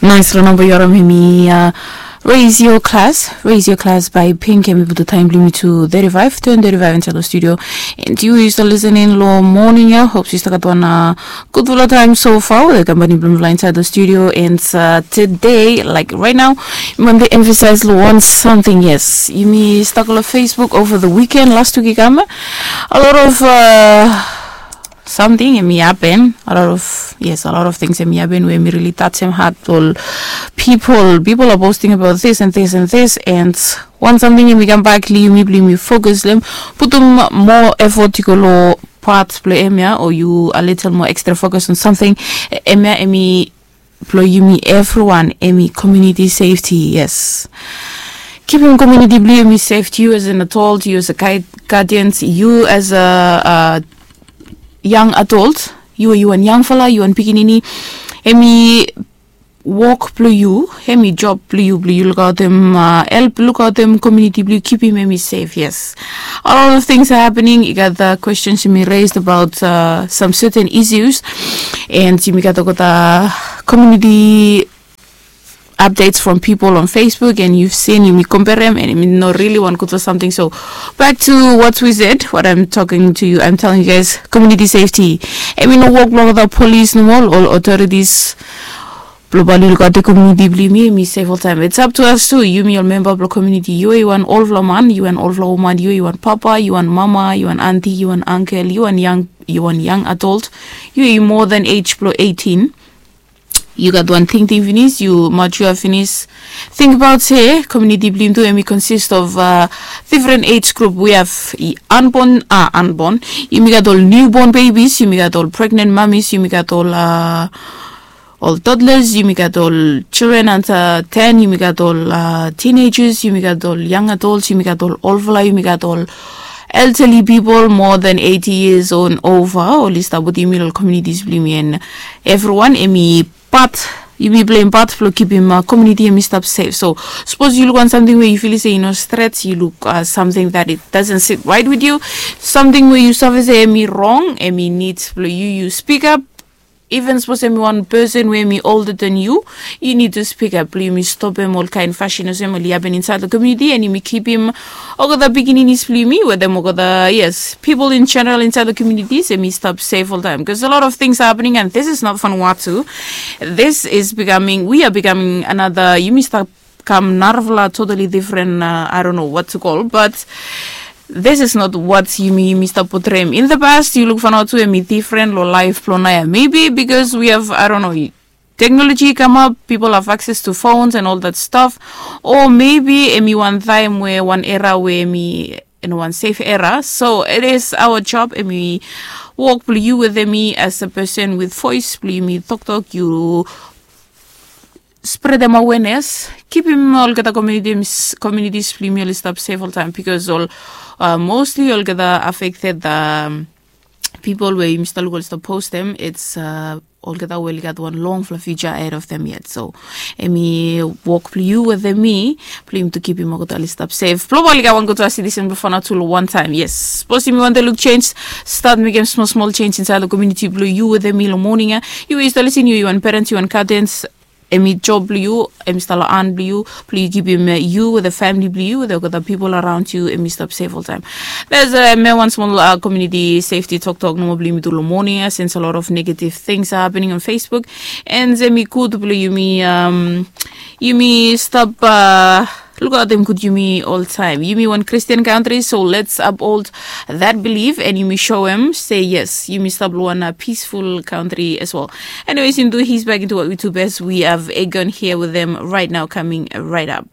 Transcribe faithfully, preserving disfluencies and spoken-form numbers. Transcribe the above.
Nais lo namba yu harim hemi, uh, Raise Your Class, Raise Your Class by Pink. Hemi putum taem blong yumi to thirty-five, ten thirty-five inside the studio. And yu yu stap listening lo morning ya. Hope yu stap gat wan, uh, gudfala taem so far. Wetem kampani blong mifala inside the studio. And, uh, today, like, right now, mi wantem emphasize lo wan samting, yes. Yumi stap lo Facebook over the weekend, last week i kam. A lot of, uh, samting hemi hapen. A lot of, yes, a lot of things hemi hapen we hemi really tajem hat ol pipol. Pipol are posting about this and this and this, and wan samting hemi kambak lo yumi blong yumi fokus lo hem, putum moa effort i go lo pat blo hem ya, o yu a little more extra focus on something. Hem ya hemi blo yumi evriwan, hemi community safety, yes. Kipim community blo yumi safety, yu as an adult, yu as a guide, guardians, yu as a, uh, young adult, yu yu wan yangfala, yu wan pikinini, hemi wok blo yu, hemi job blo yu, blo yu lukaotem, uh, help lukaotem community blo yu, kipim hemi safe, yes. A lot of things are happening. I gat the questions hemi raised about, uh, some certain issues, and yumi gat olgeta community updates from people on Facebook, and you've seen, yumi komperem, and yumi no really wan gudfala samting. So back to what we said, what I'm talking to you, I'm telling you guys, community safety. Hemi no wok blo olgeta polis nomo, ol authorities blo bae i lukaotem community blo yumi, hemi safe oltaem. It's up to us too. Yumi ol memba blo community, yu yu wan olfala man, yu wan olfala woman, yu yu wan papa, yu wan mama, yu wan anti, yu wan angkel, yu wan yang, yu wan young adult, yu yu more than age blo eighteen. Yu gat wan tingting finis, yu mature finis. Tingbaot se community blo yumi tu hemi consist of, uh, different age group. We have i unborn, ah, unborn. Yumi gat ol newborn babies, yumi gat ol pregnant mummies, yumi gat ol, uh, ol toddlers, yumi gat ol children under ten, yumi gat ol, uh, teenagers, yumi gat ol young adults, yumi gat ol olfala, yumi gat ol elderly people more than eighty years and over. Ol i stap wetem yumi lo ol communities blo yumi, and evriwan hemi pat, yumi pleim pat blo kipim, uh, community hemi stap safe. So sapos yu luk wan samting we yu feel se i no stret, yu luk, uh, samting that it doesn't sit right with you, samting we yu save se hemi rong, hemi nid blo yu yu speak up. Even sapos hemi wan person we hemi older than you, you need to speak up blo yumi stopem ol kaen fasin olsem oli hapen insaed lo community, and yumi kipim olgeta pikininis blo yumi wetem olgeta, yes, people in general insaed lo communities, hemi stap safe oltaem. Because a lot of things are happening, and this is not Vanuatu. This is becoming, we are becoming another, yumi stap kam narafala totally different, uh, I don't know what to call, but this is not what yumi yumi stap portrayem. In the past, yu luk Vanuatu hemi different lo laef blo naoia. Maybe because we have, I don't know, technology i kamap, people have access to phones and all that stuff. Or maybe hemi wan taem we wan era we hemi i no wan safe era. So it is our job, hemi wok blo yu wetem mi as a person with voice, blo yumi toktok, yu spredem awareness, kipim olgeta community, communities blo yumi oli stap safe oltaem, because ol, uh, mostly olgeta affected, um, people we yumi stap luk oli stap postem, it's, uh, olgeta we oli gat wan longfala future ahead of them yet. So hemi wok blo yu wetem mi blo yumi tu kipim olgeta oli stap safe. Blo bae oli gat wan gudfala citizen blo Vanuatu lo wan taem. Yes, sapos yumi wantem luk change, stap mekem smol smol change insaed lo community blo yu wetem mi lo moning ya. Yu yu stap lisin, yu yu wan parents, yu wan guardians, hemi job blo yu, hemi stap lo han blo yu, blo yu kipim, uh, yu wetem famili blo yu wetem olgeta people around yu, hemi stap safe oltaem. There's, uh, hemi wan smol, uh, community safety toktok nomo blo yumi tu lo moning ya, since a lot of negative things are happening on Facebook. And hemi gud blo yumi, um, yumi stap, uh, lukaotem gud yumi oltaem. Yumi wan Christian country, so let's uphold that belief, and yumi soem se yes, yumi stap lo wan, uh, peaceful country as well. Anyways, yumi tu ease back into what we do best. We have Aegon here with them right now, coming right up.